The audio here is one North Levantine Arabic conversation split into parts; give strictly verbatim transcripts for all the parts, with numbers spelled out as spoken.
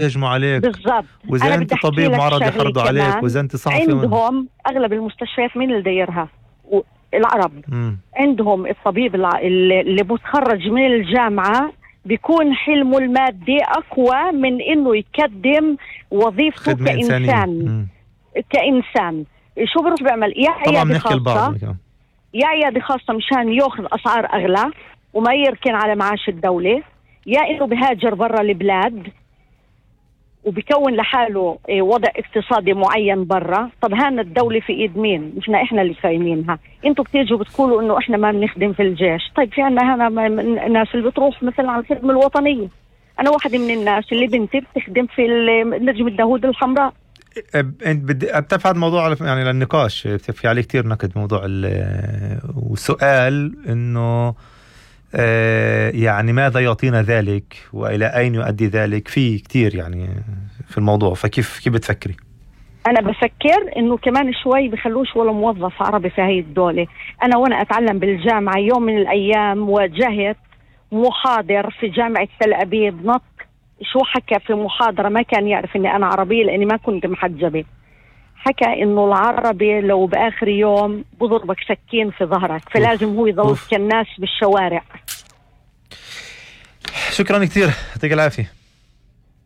يهجموا عليك بالضبط. وإذا أنت طبيب معرض يحرضوا عليك وإذا أنت صحفي. عندهم أغلب المستشفيات مين اللي دايرها؟ العرب. م. عندهم الطبيب اللي متخرج من الجامعة بيكون حلمه المادي أقوى من إنه يقدم وظيفته كإنسان. كإنسان شو بروح بيعمل؟ يا عيادة خاصة يا عيادة خاصة مشان يأخذ أسعار أغلى وما يركن على معاش الدولة، يا إنه بهاجر برا البلاد وبيكون لحاله وضع اقتصادي معين برا. طب هان الدولة في ايد مين؟ مش احنا اللي خايمينها. انتوا بتيجوا بتقولوا انه احنا ما بنخدم في الجيش. طيب في عنا هنا الناس اللي بتروح مثلا على الخدمة الوطنية. انا واحدة من الناس اللي بنتي بتخدم في نجم الداوود الحمراء. انت بدي بتفعل موضوع يعني للنقاش، في عليه كتير نقد موضوع وسؤال انه آه يعني ماذا يعطينا ذلك وإلى أين يؤدي ذلك؟ في كتير يعني في الموضوع. فكيف كيف بتفكري؟ أنا بفكر إنه كمان شوي بخلوش ولا موظف عربي في هاي الدولة. أنا وأنا أتعلم بالجامعة يوم من الأيام واجهت محاضر في جامعة تل أبيب نط شو حكى في محاضرة، ما كان يعرف إني أنا عربية لأني ما كنت محجبة. حكى إنه العربي لو بآخر يوم بضربك سكين في ظهرك، فلازم هو يضل كالناس بالشوارع. شكرا كتير، يعطيك العافية.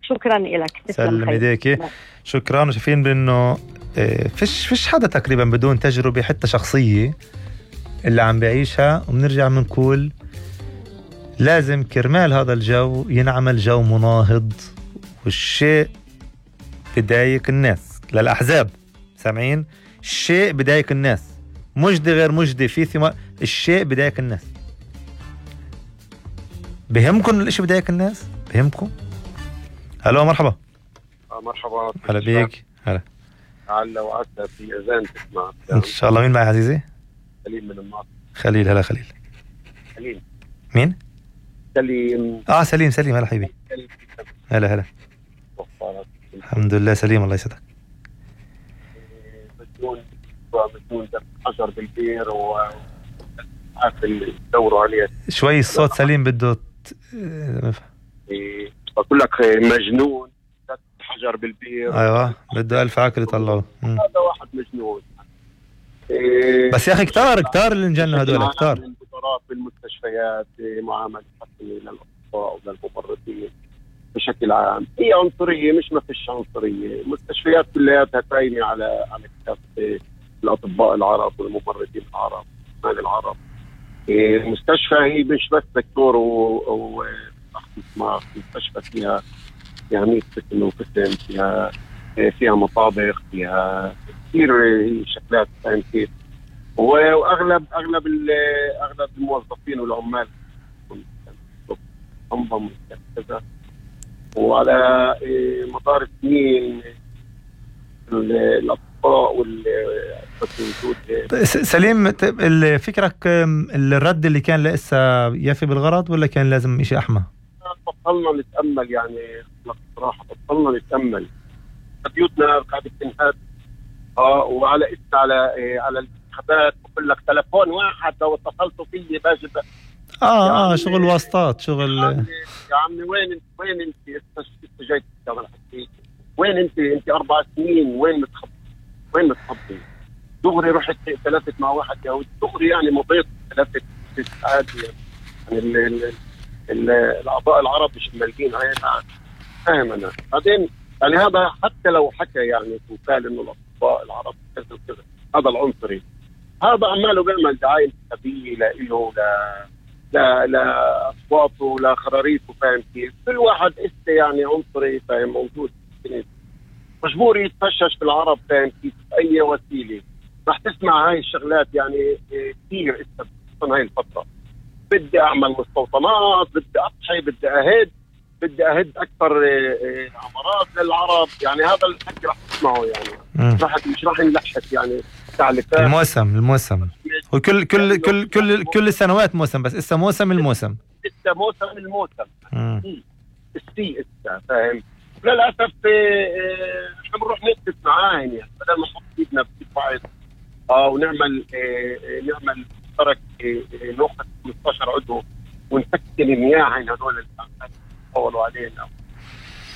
شكرا لك، سلم ايديكي. شكرا. وشايفين بأنه فيش فيش حدا تقريبا بدون تجربة حتى شخصية اللي عم بيعيشها، وبنرجع بنقول لازم كرمال هذا الجو ينعمل جو مناهض، والشيء بدايق الناس للأحزاب. سامعين؟ الشيء بدايق الناس، مجدي غير مجدي في ثمار، الشيء بدايق الناس. بهمكم الاشي بدايق الناس؟ بهمكم؟ هلو مرحبا. آه مرحبا. هلا بيك. هلا. هلا وعدت في اذان تسمع ان شاء الله. مين معي عزيزي؟ سليم من الناصر. خليل. هلا خليل. سليم. مين؟ سليم. اه سليم. سليم. هلا حبيبي. هلا هلا. الحمد لله سليم، الله يسعدك. مجنون مجنون حجر بالبير و عافل دوروا عليه شوي. الصوت سليم بده ت... إيه بقول لك مجنون حجر بالبير. ايوه بده ألف عقل يطلعوه. هذا واحد مجنون. إيه بس يا اخي كتار كتار اللي انجنوا هدول كتار. القدرات بالمستشفيات، معامله حسنه للاطباء وللممرضين بشكل عام. هي عنصريه، مش ما فيش عنصريه. المستشفيات كلياتها قايمه على على كتاب الاطباء العرب والممرضين العرب والعمال العرب. المستشفى هي مش بس دكتور و دماغ. المستشفى فيها فيها مية قسم وقسم، فيها فيها مطابخ، فيها كثير شكلات. فاهم كيف؟ واغلب اغلب اغلب الموظفين والعمال انظم كذا. وعلى مدار السنين الاطباء وال سليم، فكرك الرد اللي كان لسه يفي بالغرض ولا كان لازم إشي أحمى؟ بطلنا نتأمل يعني بصراحة، بطلنا نتأمل. بيوتنا قاعدة تنهد. اه وعلى اسم على إيه على الانتخابات بقول لك تلفون واحد لو اتصلتوا فيه باجي اه يعني اه شغل واسطات شغل. يا عمي يا عمي وين انت وين انت انت جاي تشتغل حكي وين انت انت اربع سنين وين متخبي وين متخبي؟ دغري رحت ثلاثة مع واحد يهودي دغري يعني مضيت ثلاثة ساعات يعني الأعضاء العرب مش مالكين هاي. فاهم أنا. بعدين يعني هذا حتى لو حكى يعني وقال إنه الأطباء العرب كذا وكذا، هذا العنصري. هذا عماله بيعمل دعاية انتخابية لإله لا لا لا أصواته لا خراريطه. فاهم كيف؟ كل واحد إسته يعني عنصري. فاهم موجود مجبور يتفشش في العرب. فاهم كيف؟ بأي وسيلة رح تسمع هاي الشغلات يعني كثير إسته بخصوصا هاي الفترة. بدي أعمل مستوطنات، بدي أضحي، بدي أهد بدي أهد أكثر عمارات للعرب. يعني هذا الحكي رح تسمعه يعني رح مش رح نلحق يعني تعليقات. الموسم الموسم وكل كل كل كل كل السنوات موسم، بس إسا موسم الموسم إسا موسم الموسم السي إسا. فاهم؟ للأسف نحن بنروح نكتب معاه يعني بدل ما نحط ايدنا في بعض اه ونعمل اه نعمل مشترك اه ناخذ خمسة عشر عضو ونسكن المياه هدول اللي عم يطولوا علينا.